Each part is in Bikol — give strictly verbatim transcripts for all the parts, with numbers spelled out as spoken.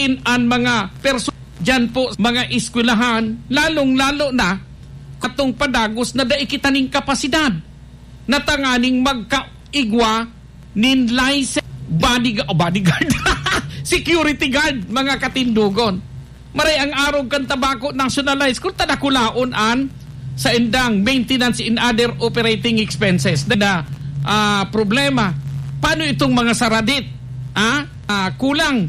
in an mga perso-, diyan po, mga eskwelahan, lalong-lalo na katong padagos na dai kita ning kapasidad na tanganing magkaigwa nin license, bodygu-, oh, bodyguard, security guard, mga katindogon. Maray ang arog kan Tabaco National High School, ta dakulaon an saindang maintenance and other operating expenses na, ah, problema. Paano itong mga saradit? Ah, ah, kulang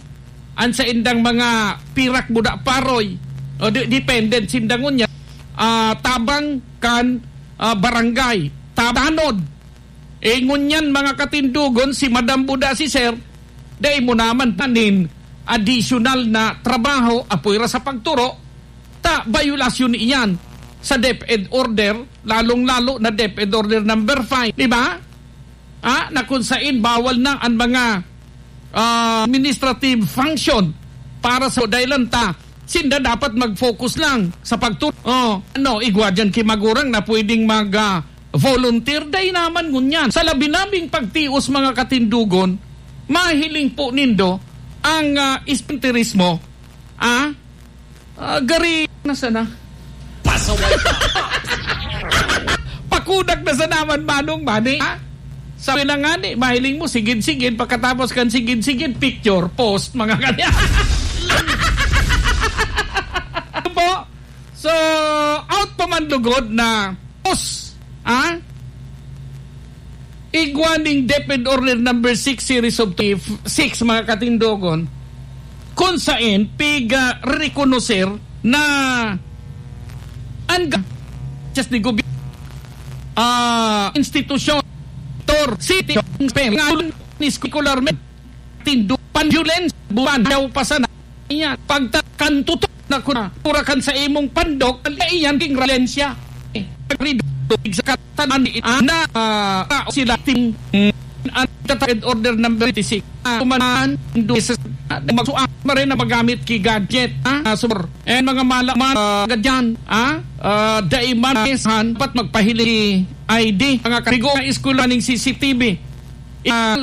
an saindang mga pirak buda paroy. O, di-, dependent sinda ngunyan. Ah, tabang kan, ah, barangay. Tabanod. Eh, ngunyan, mga katindogon, si Madam Buda, si Sir, dai mo naman panin additional na trabaho, apoy ra sa pagturo, ta, bayolasyon iyan sa DepEd order, lalong-lalo na DepEd order number five, di ba? Ah, na kung sain bawal na ang mga, ah, administrative function para sa dahilan ta, sinda dapat mag-focus lang sa pagturo. Oh, ano, igwa dyan ki magurang na pwedeng mag, ah, volunteer, dai naman ngunyan. Sa labi-labing pagtios, mga katindogon, mahiling po nindo ang, ah, espiritismo, ah, ah, gari na sana. Pasaway ka. Pakudak na sana man, Manong Mani, ha? Sabi na nga ni, mahiling mo, sigid-sigid, pagkatapos kan sigid-sigid, picture, post, mga kanya. Ano po? So, out pa man lugod na, os, ha? Igwa ning DepEd Order number six, series of twenty-six, mga katindogon, kung saen piga-rekonoser na an ga-, just ni gobi-, ah, institusyon, tor, city, ni scholarmen, tindo, pan-violence, buwan, daw pa sana. Iyan, pagta-, kan tutok na kuna, pura kan sa imong pandok, iyan king violencia. Eh, pagrido, tubig sa katanan, ah, na, ah, tao sila ting, mm, ang DepEd Order number twenty-six. Ah, kumanan, indo sa, ah, magsuang, maray na magamit ki gadget, ah, ah, super. And mga mala-, mga, ah, gadyan, ah, ah, dai man, dapat magpahiling I D. Mga karigo, mga eskwela ning C C T V. Ah,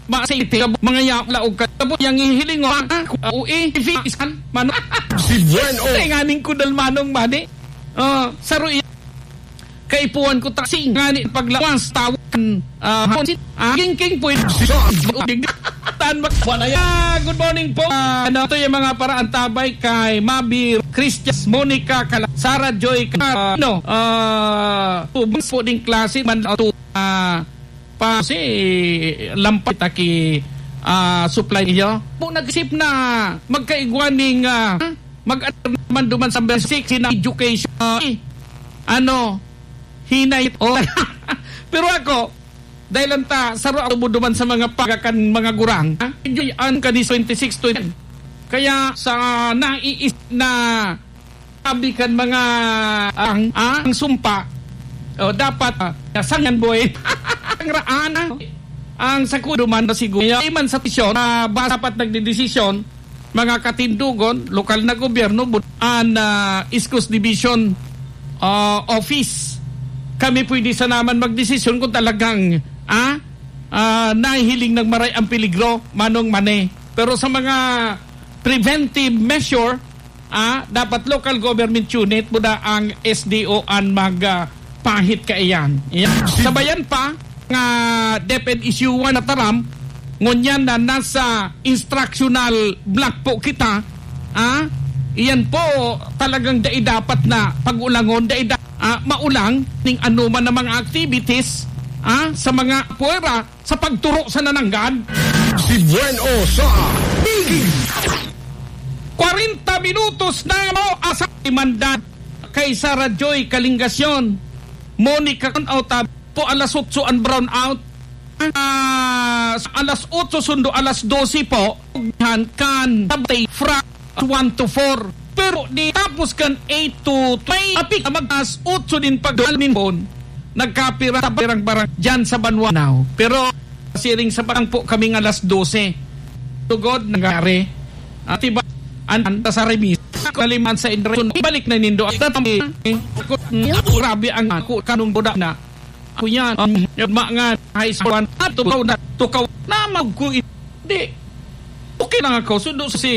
Ma-, sa iti, mga ya-, laog ka. Tapos yang hihiling, oh, ah, ui, ifi-, iskan, mano. Si Buen O. Ay, nganing kudal manong mani. Oh, saro i-, kaipuhan ko taksi, ngani paglawas, tawakan, ah, hon-, ah, king, king, pwede. Tan mag-, Wala yan. Ah, good morning po. Ah, ano to yung mga paraantabay kay Mabir, Christian, Monica, Kala-, Sarah Joy, Ka-, ah, ano, ah, tubos po ding klase, man, ah, tu-, ah, pa si lampat aki, ah, supply niyo. Po nag-isip na magkaigwa ning, ah, mag-, naman duman sa basic na education. Ah, ano, hinay. Oh. Pero ako, dahil lang ta, saro ako duman sa mga pagakan, mga gurang. Ha? Medyo yan, kani twenty-six to yan. Kaya sa naiis na sabi kan mga ang, ang sumpa, o, dapat, ah, sangyan boy. Ang raan, ah. Ang sakudo man na siguro. Kaya man sa tisyon, ah, ba dapat nagdedesisyon, mga katindogon, lokal na gobyerno, bu-, an, ah, East Coast Division, ah, Office. Kami pwede sa naman magdesisyon kung talagang, ah, ah, nahihiling ng maray ang peligro, manong mane. Pero sa mga preventive measure, ah, dapat local government unit, buda ang S D O an mag, ah, pahit kaiyan. Yan. Sabayan pa nga DepEd issue one na taram, ngunyan na nasa instructional block po kita, ah, iyan po talagang dai dapat na pag-ulangon, dai da-, ah, maulang ning anuman na mga activities, ah, sa mga puwera sa pagturo sa nananggad. Si Buen O sa Big. Kwarenta minutos na mo asa imandan kay Sarah Joy Kalingasyon, Monica Con Autab, po alas otso ang brown out. Ah, sa alas otso sundo alas dose po, kan Tabtay Fra one to four. Pero di tapos kan eight to, may apik na mag-alas otso din pag alin bon. Nagkapira sa barang-barang dyan sa Banwa now. Pero siring sa barang po kaming alas dose. Tugod nangyari. At iba, an, an, sa remis. Kaliman sa Indreson. Ibalik na nindo. At tatami, eh, ako, grabe ang ako, kanong buda na. Ako yan, um, mga high school, at tukaw na, tukaw na, mag-, hindi. Okay lang ako. Sundo si